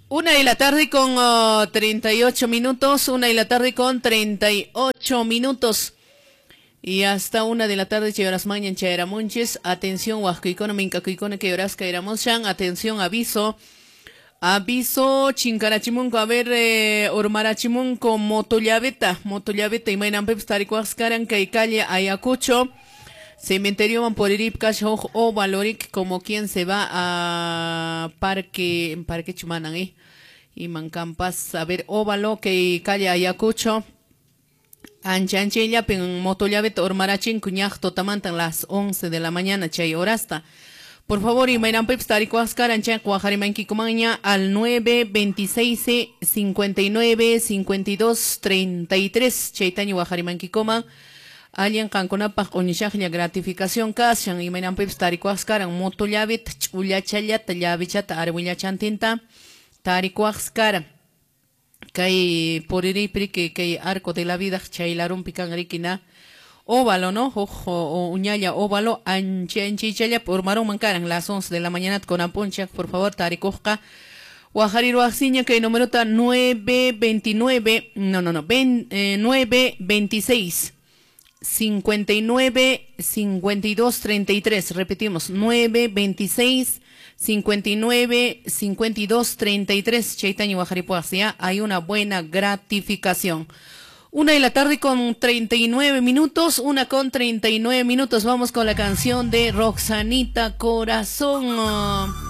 Una de la tarde con 38 minutos, 1 de la tarde con 38 minutos. Y hasta 1 de la tarde chay mañan chayaramunchis. Atención, huascuicona, mincacuicona, que horas caeramos. Atención, aviso. Aviso, chinkarachimunco, a ver, urmarachimunco, motollaveta, motollaveta, y mainanpipis tarikuascaran, kay calle Ayacucho. Cementerio van por Iripcash, o Valoric, como quien se va a Parque, Parque Chumanan, ¿eh? Y Mancampas, a ver, óvalo, que calle Ayacucho. Anchanchella, pen motollaveta, urmarachin, cuñaj, totamantan las 11 de la mañana, chay horasta. Por favor, y Mayran Tarikuascaran, Cuajarimanquicomaña al 926 59 52 33, Chaitaño Guajarimanquicoma. Alguien qankunapaq q'uñishaqlla gratificación kashan imaynanpipas tarikuwaqskaran moto llaveta ch'ullachallata llavichata arwillachantinta tarikuwaqskaran kay puririypi kay arco de la vida chaylarunpi kan riki na óvalo, ¿no? Ojo, uñalla óvalo anchi anchichalla urmarunman karan las 11 de la mañana con apunchaq, por favor, tarikuqqa waqhariruwaqsiña kay numerota 929, no, no, no, 926 59 52 33. Repetimos, 9 26 59 52 33. Chaitaño Guajaripuasia, hay una buena gratificación. 1 de la tarde con 39 minutos, 1:39. Vamos con la canción de Roxanita Corazón.